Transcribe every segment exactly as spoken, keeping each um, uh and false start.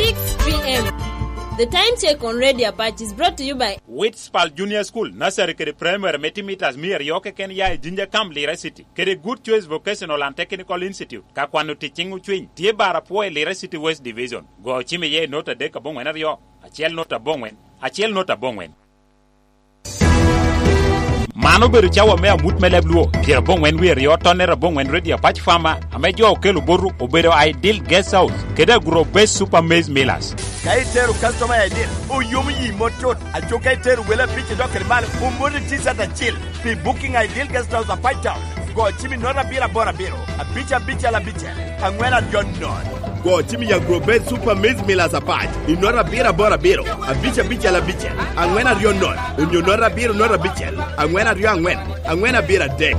Six p.m. The time check on Radio Apache is brought to you by Witspal Junior School, Nursery kede Primary me timo mitas mia aryo keken ya i Jinja Camp, Lira City, kede Good Choice Vocational and Technical Institute. Ka kwano ticciŋ ocwiny, tye bar apwo i Lira City West Division. Go ocim iye i nota adek aboŋwen aryo, acel nota aboŋwen, acel nota aboŋwen. Man obedo cawa me amut me leb Luo, pyeraboŋwen wie aryo, tonnere aboŋwen, Radio Apache Farmer, ame jo okelo boto obedo Ideal Guest House, kede Agro Base Super Maize Millers. Ka itero customer Ideal, oyomo yi mot tut. Aco ka itero wele abic idok kede malo, omoti T-shirt acil. Pi booking Ideal Guest House Apache Town, go cim i nota abiro aboro abiro, abic abicel abicel, aŋwen aryo nono. Go cim i Agro Base Super Maize Millers Apache i nota abiro aboro abiro, abic abicel abicel, aŋwen aryo nono, onyo nota abiro nota abicel, aŋwen aryo aŋwen, aŋwen abiro adek.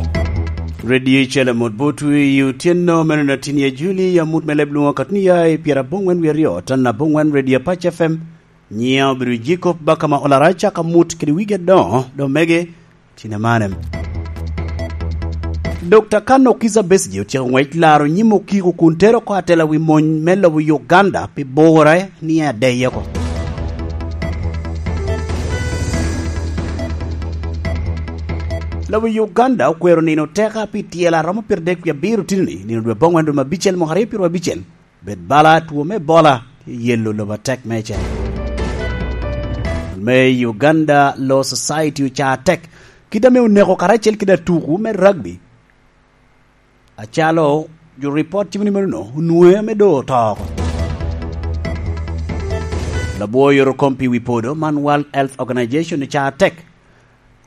Radio Icel Amut Botwi i otyeno meno na tin ya Juli, amut me leb Luo katni ya i pyeraboŋwen wie aryo, tan aboŋwen, Radio Apache F M. Nyiŋa obedo Jacob Bakama Olara, caka mut kede wigi adoŋo, dok mege tin amane. Dokta Kano Kizza Besigye otyeko ŋwec laro nyim okiko kun tero oko atela wi mony me lobo Uganda pi bure ni adeye oko. Lobo Uganda okwero nino teka pi tyela romo pyeradek wie abiro tini-ni, nino dwe aboŋwen dwe me abicel mwaka aryo pyeraryo abicel, bed bala two me Ebola, tye yelo lobo atek meicel. Me Uganda Law Society ocaa tek, kit ame oneko karacel kede atuku me rugby, acalo jo report timo ni meno onwoŋe ame doŋ oto oko. Labwor yoro kom pi wi podo man World Health Organization ocaa tek,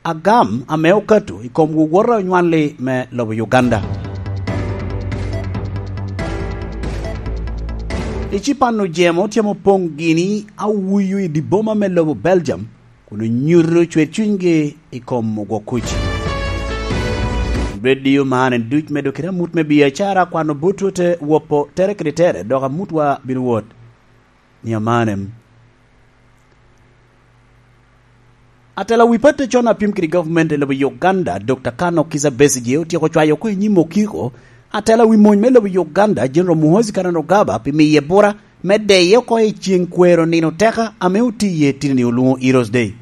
agam ame okato i kom wowota onywalli me lobo Uganda. Ecipan ojemo tye ame opoŋ gini awuyu i dye boma me lobo Belgium, kun onyuto cwer cunygi i kom ogwok kuc. Radio man en duc medo kede amut me biacara, kwano botwu te wopo tere kede tere, dok amutwa bino wot ni amanem. Atela wi patte con a pyem kede gavumenti i lobo Uganda, Dokta Kano Kizza Besigye, otyeko cwayo oko i nyim okiko atela wi mony me lobo Uganda, General Muhoozi Kainerugaba, pi miye bura me deye oko i ceŋ kwero nino teka ame otiye tini-ni olwoŋo Heroes Day.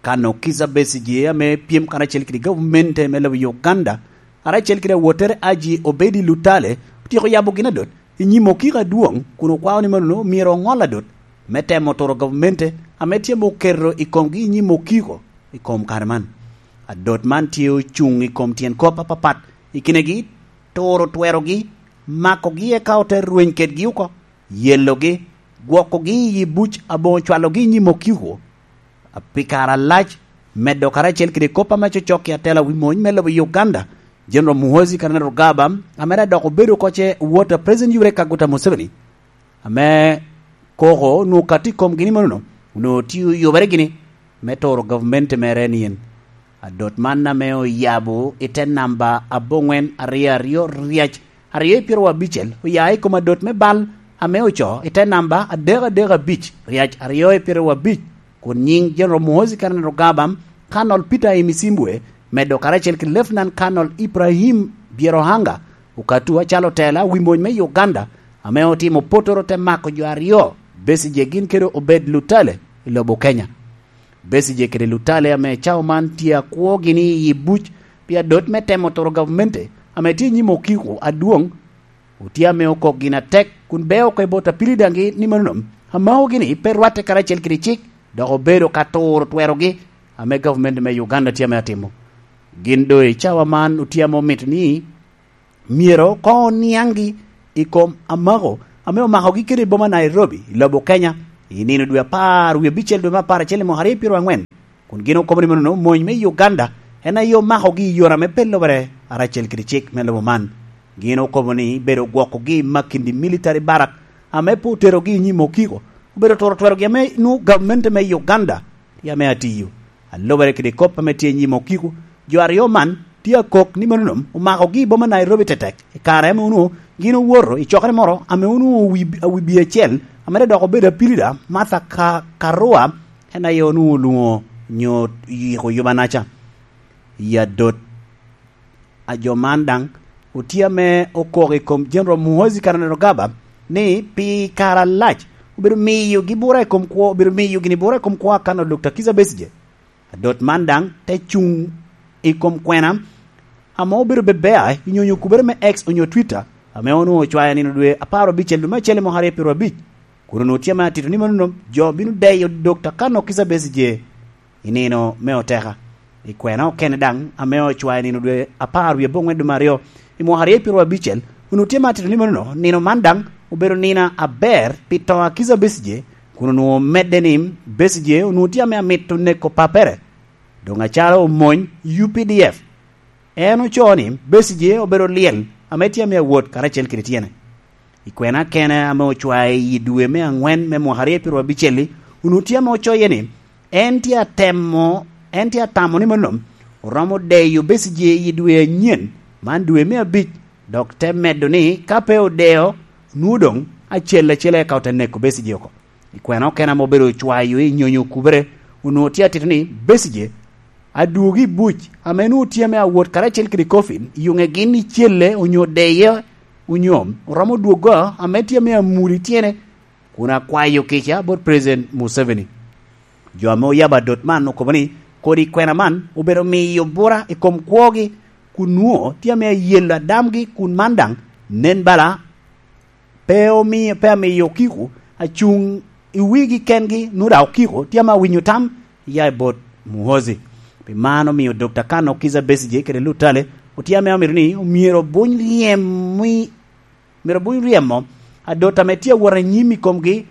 Kano Kizza Besigye ame pyem karacel kede gavumenti me lobo Uganda, karacel kede awottere Haji Obedi Lutale, otyeko yabo gin adot i nyim okiko adwoŋ, kun okwao ni mano myero oŋol adot me temo turo gavumenti ame tye ame oketo i komgi i nyim okiko i kom kare man. Adot man tye ocuŋ i kom tyen kop apapat, i kinegi turo twerogi, makogi eka ote rweny kedgi oko, yelogi, gwokogi i yi buc aboŋo cwalogi i nyim okiko pi kare alac, medo karacel kede kop ame cocok i atela wi mony me lobo Uganda, General Muhoozi Kainerugaba, ame daŋ dok obedo oko ce wot a President Yoweri Kaguta Museveni, ame koko onwoŋo okato i komgi ni mano onwoŋo tye oyubere gini me turo gavumenti mere ni en. Adot man ame oyabo i te namba aboŋwen aryo aryo ryac aryo i pyeraryo abicel oya i kom adot me bal ame ocoo i te namba adek adek abic ryac aryo i pyeraryo abic, kun nyiŋ General Muhoozi Kainerugaba, Colonel Peter Imisimbwe, medo karacel kede Lieutenant Colonel Ibrahim Byerohanga, okatu acalo tela wi mony me Uganda, ame otimo potoro te mako jo aryo, Besigye gin kede Obed Lutale, i lobo Kenya. Besigye kede Lutale ame cawa man tye akwogi ni i buc pi adot me temo turo gavumenti ame tye i nyim okiko adwoŋ, otye ame okok gin atek kun beo oko i bot apili daŋgi ni mano amakogi ni pe rwatte karacel kede cik, dok obedo ka turo twerogi ame gavumenti me Uganda tye ame atimo. Gin doŋ i cawa man otye ame omito ni myero koŋ oniaŋgi i kom amako ame omakogi kede i boma Nairobi, i lobo Kenya, i nino dwe apar wie abicel dwe me apar acel i mwaka aryo pyeraryo aŋwen, kun gin okobo ni mano mony me Uganda en aye omakogi i yore ame pe lubere karacel kede cik me lobo man. Gin okobo ni bedo gwokogi i Makindye Military Barrack ame pe oterogi i nyim okiko, obedo turo twerogi ame nwoŋo gavumenti me Uganda tye ame atiyo. A lubere kede kop ame tye i nyim okiko, jo aryo man tye akok ni mano omakogi i boma Nairobi tetek, i kare ame onwoŋo gin owoto i cokere moro ame onwoŋo wi, wi bia acel, ame dok obedo apilida, Martha Ka-, Karua, en aye onwoŋo olwoŋo nyo yiko yubanaca. I adot a jo man daŋ otye ame okok i kom General Muhoozi Kainerugaba, ni pi kare alac obedo miyogi bura i kom kwo, obedo miyo gini bura i kom kwo akan Dokta Kizza Besigye. Adot man daŋ te cuŋ i kom kwena ame obedo bebea i nyonyo kubere me X onyo Twitter, ame onwoŋo ocwayo nino dwe apar abicel dwe me acel i mwaka aryo pyeraryo abic, kun onwoŋo tye ame atito ni manono jo bino deyo Dokta Kano Kizza Besigye i nino me oteka. I kwena okene daŋ ame ocwayo nino dwe apar wie aboŋwen dwe me aryo i mwaka aryo pyeraryo abicel, onwoŋo tye ame atito ni manono, nino man daŋ obedo nino aber pi to a Kizza Besigye, kun onwoŋo omedde ni Besigye onwoŋo tye ame amito neko papere, doŋ acalo omony U P D F. En ocoo ni Besigye obedo lyel ame tye ame awot karacel kede tyene. I kwena kene ame ocwae i dwe me aŋwen me mwaka aryo pyeraryo abicel-li, onwoŋo tye ame ocoye ni en tye atemo, en tye atamo ni mano oromo deyo Besigye i dwe anyen, man dwe me abic, dok te medo ni ka pe odeo, nwoŋo doŋ acel acel eka ote neko Besigye oko. I kwena okene ame obedo ocwayo i nyonyo kubere, onwoŋo tye atito ni Besigye adwogi i buc ame nwoŋo tye ame awot karacel kede Koffi, i yuŋe gin icelle onyo deye onyo oromo dwogo ame tye ame amuli tyene, kun akwayo kica bot President Museveni. Jo ame oyabo adot man okobo ni kodi kwena man obedo miyo bura i kom kwogi, kun nwoŋo tye ame ayelo adamgi, kun man daŋ nen bala pe omi-, pe amiyo okiko acuŋ i wigi kengi, nwoŋo daŋ okiko tye ame awinyo tam ya i bot Muhoozi. Pi man omio Dokta Kano Kizza Besigye kede Lutale otye ame omito ni omyero obuny ryem-, myero obuny ryemo adot ame tye awot anyim i komgi,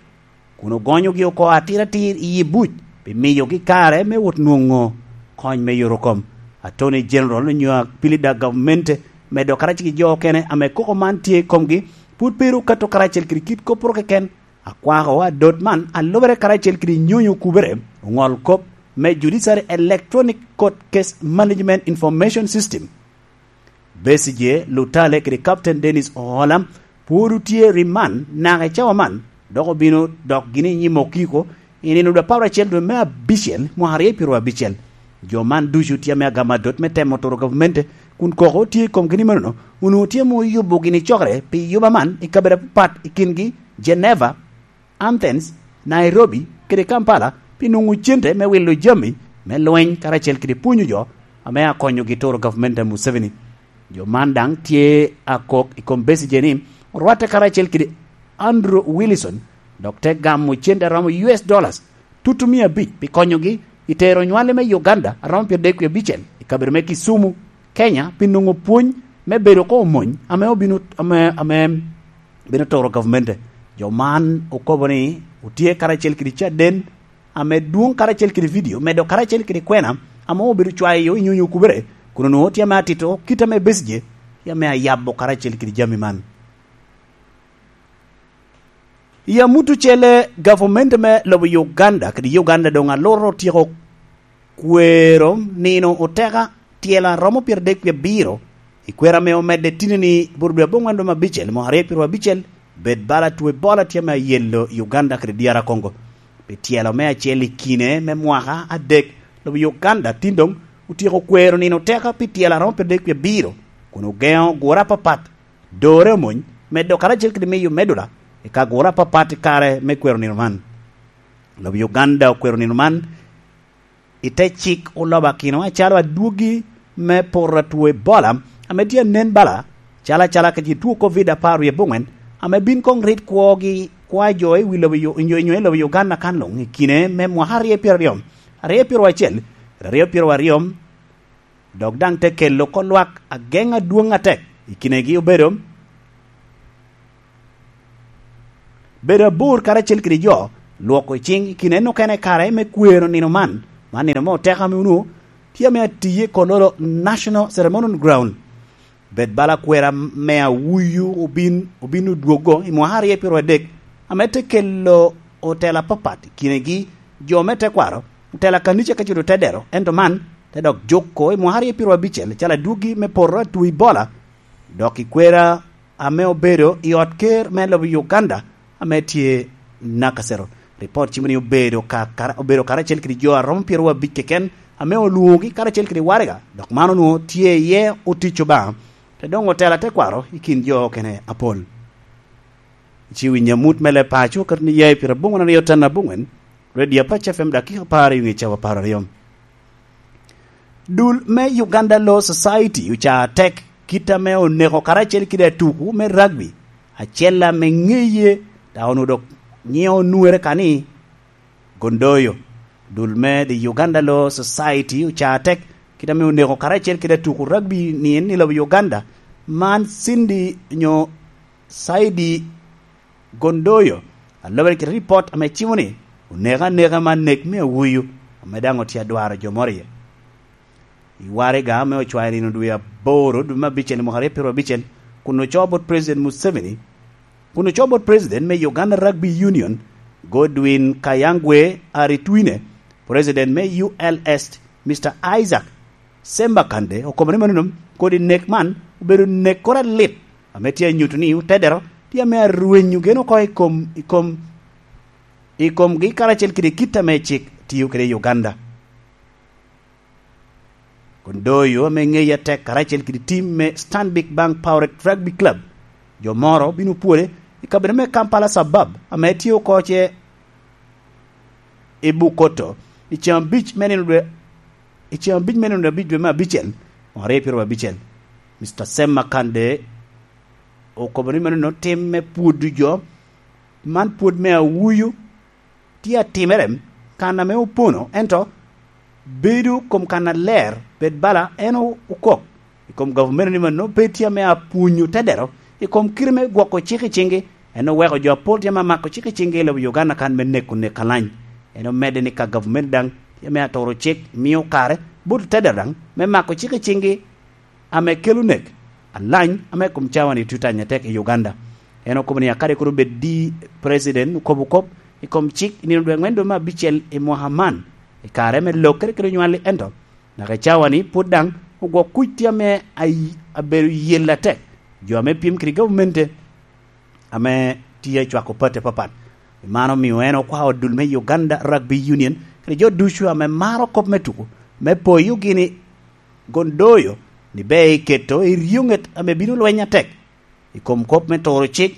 kun ogonyogi oko atir atir i yi buc pi miyogi kare me wot nwoŋo kony me yorokom. Attorney General onyo apilida gavmente medo karacel ki jo okene ame koko man tye i komgi pwod pe ru kato karacel kede kit kopporo keken. Akwako adot man alubere karacel kede nyonyo okubere oŋol kop me Judiciary Electronic Court Case Management Information System. Besigye, Lutale kede Captain Dennis Ohola pwod otye i riman naka i cawa man, dok obino dok gini i nyim okiko i nino dwe apar acel dwe me abicel mwaka aryo pyeraryo abicel. Jo man ducu tye ame agamo adot me temo turo gavmente, kun koko tye i komgi ni manono, onwoŋo tye ame oyubo gini cokere pi yuba man i kabedo apapat i kingi Geneva, Athens, Nairobi, kede Kampala pi nwoŋo cente me wilo jami me lweny karacel kede pwonyo jo ame akonyogi turo gavment a Museveni. Jo man daŋ tye akok i kom Besigye ni orwatte karacel kede Andrew Wilson, dok te gamo cente a romo U S dollars tutu mia abic pi konyogi i tero nywale me Uganda a romo pyeradek wie abicel i kabedo me Kisumu, Kenya, pi nwoŋo pwony me bedo oko omony ame obino, ame, ame bino turo gavmente. Jo man okobo ni otye karacel kede caden ame dwoŋ karacel kede vidio, medo karacel kede kwena ame obedo cwayo i nyonyo okubere, kun onwoŋo tye ame atito kit ame Besigye tye ame ayabo karacel kede jami man. I amut ocele, gavumenti me lobo Uganda kede Uganda doŋ aloro otyeko kwero nino oteka tyelo a romo pyeradek wie abiro, i kwero ame omedde tini ni bot dwe aboŋwen dwe me abicel, mwaka aryo pyeraryo abicel, bed bala tuo Ebola tye ame ayelo i Uganda kede dyara Congo. Pi tyelo me acel i kine me mwaka adek, lobo Uganda tin doŋ otyeko kwero nino oteka pi tyelo a romo pyeradek wie abiro, kun ogeŋo gure apapat, dore omony, medo karacel kede miyo medula i ka gure apapat i kare me kwero nino man. Lobo Uganda okwero nino man i te cik olobakino acalo adwogi me poto a tuo Ebola ame tye anen bala, calo acala kede tuo Covid apar wie aboŋwen, ame bin koŋ rit kwogi kwa jo i wi lobo Yu-, nyo, nyo i lobo Uganda kan luŋ i kine me mwaka aryo pyeraryo, aryo pyeraryo acel, aryo pyeraryo, dok daŋ te kelo oko lwak ageŋ adwoŋ atek i kinegi obedo bedo abor karacel kede jo, lwoko ciŋ i kine en okene kare me kwero nino man, man nino me oteka ame onwoŋo tye ame atiye i Kololo National Ceremonial Ground. Bed bala kwera me awuyu obin, obin odwogo i mwaka aryo pyeraryo adek, ame te kelo otela apapat i kinegi jo me tekwaro, otela kanica ka cuto te dero, ento man te dok juko i mwaka aryo pyeraryo abicel calo adwogi me poto atwo Ebola, dok i kwera ame obedo i ot ker me lobo Uganda ame tye Nakasero. Ripot cimo ni obedo ka, kara-, obedo karacel kede jo a romo pyeraryo abic keken ame olwoŋogi karacel kede waraga, dok man onwoŋo tye iye otic Obaŋa, te doŋ otela tekwaro i kin jo okene apol. Ci winyo amut me leb paco, oketo ni ya i pira bongwen aryo tan abongwen, Radio Apac F M, dakika apar i ŋe cawa apar aryo. Dul me Uganda Law Society oca tek kit ame oneko karacel kede atuku me rugby, acel ame ŋeye, dok onwoŋo dok nyiŋe onwere ka ni Gondoyo. Dul me The Uganda Law Society oca tek kit ame oneko karacel kede atuku rugby ni en i lobo Uganda, man Cindy nyo Saidi Gondoyo, a lobere kede ripot ame cimo ni oneko aneka man nek me awuyu, ame daŋ otye adwaro jo moro iye. I waraga ame ocwayo nino dwe aboro, dwe me abicel, i mwaka aryo pyeraryo abicel, kun ocoo bot President Museveni, kun ocoo bot President me Uganda Rugby Union, Godwin Kayangwe Aritwine, President me U L S, Mister Isaac Semba Kande, okobo ni manono, kodi nek man obedo nek koro alit, ame tye anyuto ni otedero tye ame arwenyo gen oko i kom, i kom, i komgi karacel kede kit ame cik tio kede i Uganda. Kondoyo ame ŋeye atek karacel kede tim me Stanbic Bank Pirate Rugby Club, jo moro bino pwode i kabedo me Kampala Suburb ame tye oko ce i Bukoto i ceŋ abic me nino dwe, i ceŋ abic me nino abic dwe me abicel, mwaka aryo pyeraryo abicel. Mister Sam Makande okobo ni meno tim me pwodo jo, man pwod me awuyu, tye atimere kan ame opono, ento bedo kom kan aler, bed bala en o-, okok. I kom gavumenti ni mano pe tye ame apwonyo tedero i kom kite me gwoko cik i ciŋgi. En oweko jo apol tye ame amako cik i ciŋgi i lobo Uganda kan me neko nek alany. En omedde ni ka gavumenti daŋ tye ame aturo cik, mio kare bot tedero daŋ me mako cik i ciŋgi ame kelo nek alany ame i kom cawa-ni tye tanya tek i Uganda. En okobo ni akadi kur obed di president okobo kop i kom cik i nino dwe angwen dwe me abicel i mwaka man, i kare me lokkere kede onywali, ento naka i cawa-ni pwod daŋ ogwok kuc tye ame ay-, abedo yel atek, jo ame pyem kede gavumenti ame tye acwako pati apapat. Man omio en okwao dul me Uganda Rugby Union kede jo ducu ame maro kop me tuko me poyogi ni Gondoyo ni ber iketo i ryoŋet ame bino lweny atek i kom kop me turo cik,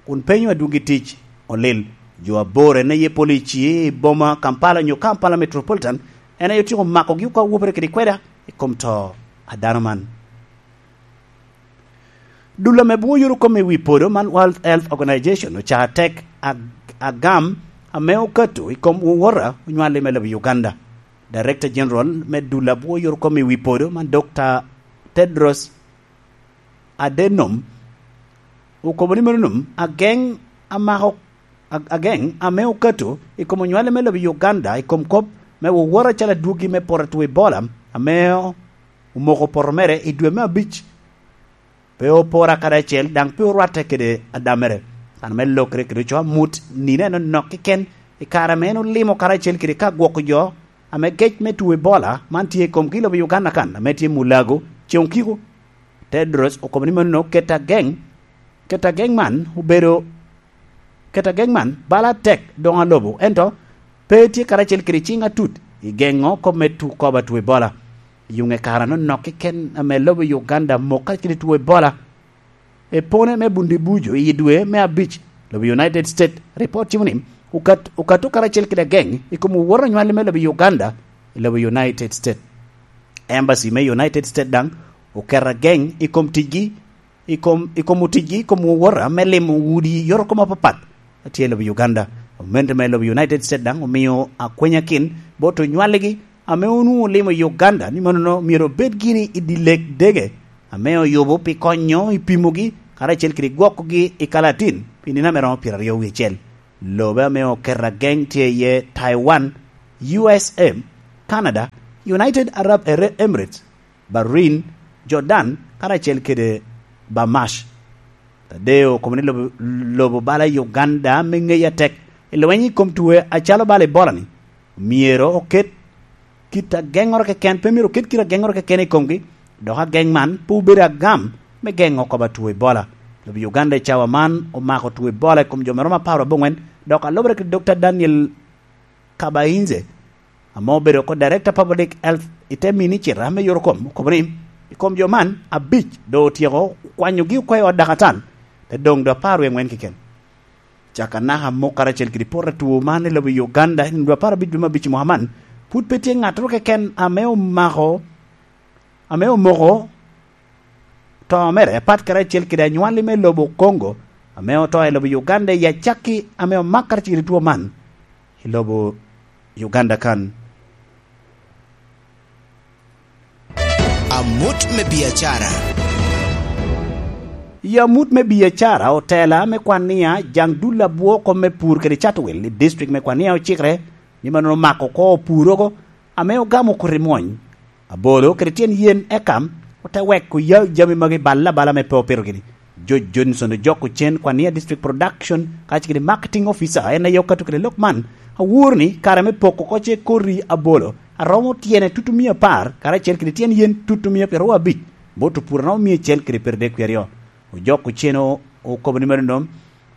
kun penyo adwogi tic olil. Jo aboro en aye polici i boma Kampala nyo Kampala Metropolitan, en aye otyeko makogi oko awopere kede kweda i kom to a dano man. Dul ame bwoyo yore kome i wi podo man World Health Organization oca tek ag-, agam ame okato i kom wowota onywali me lobo Uganda. Director General me dul a bwoyo yore kome i wi podo man Doctor Tedros Adhanom okobo ni meno nom ageng amako, ag-, ageng ame okato i kom onywali me lobo Uganda i kom kop me wowota acalo adwogi me poto two Ebola ame omoko poto mere i dwe me abic. Pe opora kadi acel, daŋ pe orwatte kede adamere. Kan me lokere kede oco amut, nino en onok keken i kare ame en olimo karacel kede ka gwoko jo ame gec me two Ebola man tye i komgi i lobo Uganda kan, ame tye Mulago, Ceŋ Okiko. Tedros okobo ni mano ket ageng, ket ageng man obedo, ket ageng man bala tek doŋ alobo, ento pe tye karacel kede ciŋ atut i geŋo kop me tu-, kobo two Ebola. Yuŋe kare anonok keken ame lobo Uganda mok karacel kede two Ebola. Epone me Bundibujo i dwe me abic, lobo United States, ripot cimo ni okat-, okato karacel kede ageng i kom wowota onywali me lobo Uganda i lobo United States. Embassy me United States daŋ oketo ageng i kom ticgi, i kom, i kom oticgi, i kom wowota me limo udi yot kom apapat a tye i lobo Uganda. Gamente me lobo United States daŋ omio akwenyakin bot onywaligi ame onwoŋo olimo i Uganda ni manono myero obed gini i dye lek dege ame oyubo pi konyo i pimogi karacel kede gwokogi i kalatin pi nino ame romo pyeraryo wie acel. Lobe ame oketo ageng tye iye Taiwan, U S A, Canada, United Arab Ere-, Emirates, Bahrain, Jordan, karacel kede Bahamas. Tadeo okobo ni lobo, lobo bala Uganda me ŋeye atek i lweny i kom two acalo bala Ebola-ni, myero oket kit ageŋŋoro keken, pe myero oket kit ageŋŋoro keken i komgi, dok ageng man pe obedo agam me geŋo kobo two Ebola. Lobo Uganda i cawa man omako two Ebola i kom jo me romo apar aboŋwen, dok alubere kede Doctor Daniel Kabainze, ame obedo oko Director Public Health i te minicita me yot kom, okobo ni i kom jo man, abic doŋ otyeko kwanyogi oko i ot dakatan, te doŋ doŋ apar wie aŋwen keken. Dakanaka mok karacel kede poto atwo man i lobo Uganda i nino dwe apar abic dwe me abic i mwaka man, pwod pe tye ŋattoro keken ame omako, ame omoko to mere, apat karacel kede anywalli me lobo Congo ame oto i lobo Uganda i acakki ame omak karacel kede two man i lobo Uganda kan. Amut me biacara. I amut me biacara, otela me kwania jaŋ dul abwoko me pur kede cato wil i district me Kwania ocikre ni mannono omako oko pur oko ame ogamo koti mwony, abolo kede tyen yen, eka ote weko ya jami magi bal abala me pe opito gini. George Johnson ojoko cen Kwania District Production kacel kede Marketing Officer, en aye okato kede lok man. Awor ni kare me poko oko ce koti abolo aromo tyene tutumia apar, karacel kede tyen yen tutumia pyeraryo abic, bot opur aromo mia acel kede pyeradek wie aryo. Ojok oceno okobo ni meno nom,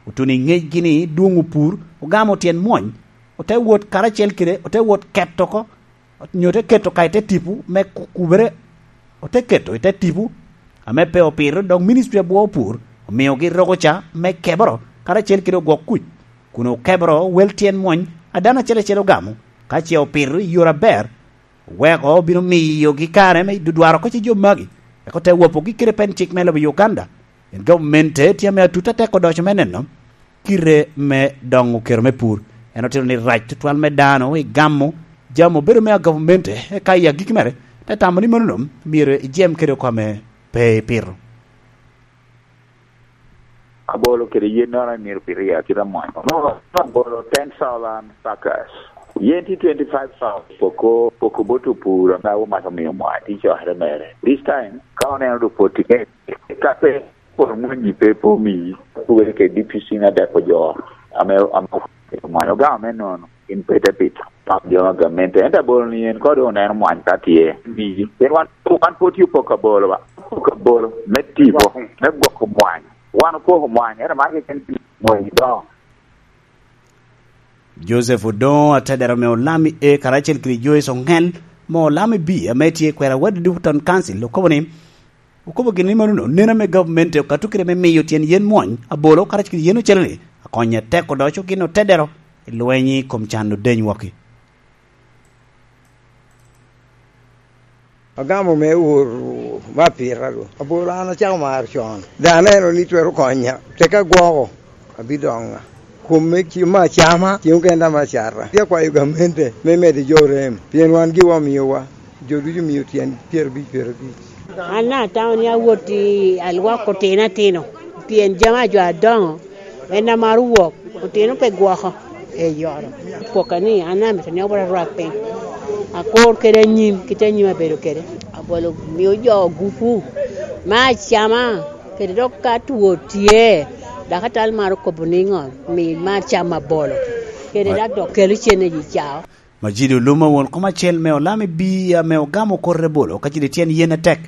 otuno i ŋecgi ni dwoŋ opur, ogamo tyen mwony, ote wot karacel kede, ote wot keto oko, nyo te keto ka i te tipo me ku-, kubere, ote keto i te tipo ame pe opito, dok ministri abwo opur omiogi roko ca me keboro karacel kede ogwok kuc, kun okeboro wel tyen mwony a dano acel acel ogamo, ka ce opito i yore aber, oweko obino miyogi kare me dudwaro oko ce jo magi, eka ote wopogi kede pen cik me lobo Uganda. En gamente tye ame atut atek odoco me neno kite me doŋo kero me pur. En otito ni rac tutwal me dano i gamo jami obedo me agavamente, eka i agikki mere te tamo ni mano nom myero ijem kede oko ame pe ipito. Abolo kede yennoro myero pito i akita mwany. Abolo ten thousand suckers. Yen tye twenty-five thousand. Poko, poko bot opur ame awo mac omio mwany tye cokere mere. This time, ka oneno do poti, ka pe Poro mwanyi pe, pe omiyi, wele ke D P C na dako jo ame, ame omwanyo gamo me nono, in pe ite pito. Pap jo ma gamente, ento abolo ni en kodi oneno mwany ka tye. Miyi. Pien wan, wan pwod tye opoko abolo ba. Opoko abolo, me tipo, me gwoko mwany. Wan opoko mwany, ento mar keken mwany dongo. Joseph Odongo, atedero me Olami A, karacel kede Joyce Ongel, me Olami B, ame tye kwero Awadi Duputon Council, okobo ni, okobo gin ni mano neno ame gavumenti okato kede me miyo tyen yen mwony, abolo, karacel kede yen ocele-ni, akonyo atek odoco gin otedero i lweny i kom can odeny wokki. Agamo me oro me apita ru. Abolo an acako maro con. Dano eno ni twero konya. Teka gwoko, abidoŋa. Kom me ci-, me acama, cen okene dama acata. Tye akwayo gamente me medo jo rem. Pien wan giwa omiyowa. Jo ducu omio tyen pyerabic, pyerabic. An daŋ atamo ni awot i alwak otino atino, pien jami a jo adoŋo en amaro wok, otino pe gwoko. Eyoro. Pwoka ni an amito ni awot arwak piny, akur kede anyim, kit anyim abedo kede. Abolo mio jo gupu me acama, kede dok ka two tye, dakatal maro kobo niŋo, mi mar cam abolo, kede dok dok kelo cene i cao. Majid Oluma, won kom acel me Olami B ame ogamo kor ebolo ka cito i tyen yen atek.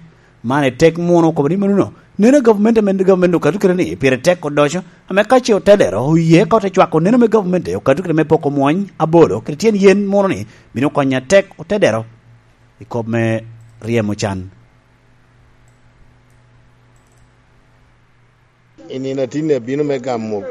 Man i tek muno okobo ni mano neno gavumenti ame gavumenti okato kede ni pire tek odoco, ame ka ce otelero oye ka ote cwako neno me gavumenti okato kede me poko mwony abolo kede tyen yen muno ni bino konyo atek otelero i kop me ryemo can. I nino atinni abino me gamo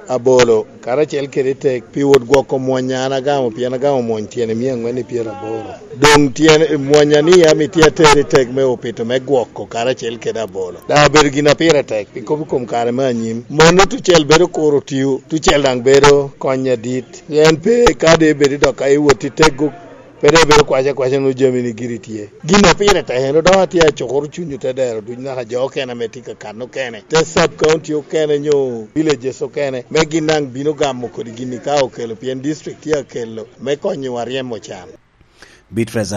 abolo karacel kede tek pi wot gwoko mwony an agamo, pien agamo mwony tyene mia aŋwen i pyeraboro. Doŋ tyene mwony a ni ami tye ater i tek me opito me gwoko karacel kede abolo. Daŋ obedo gin a pire tek pi kop i kom kare me anyim. Mano tucel bedo kuro tio, tucel daŋ bedo kony adit. En pe kadi bedo dok ka iwot i teggo, pe dok ibedo kwaca kwaca nwoŋo jami ni giri tye. Gin a pire tek en odoko atye acukuro cuny otedero duc naka jo okene ame tye ka kan okene, te sub county okene nyo villages okene, me gin daŋ bino gamo kodi gin-ni ka okelo, pien district tye akelo me konyowa ryemo can. Beatrice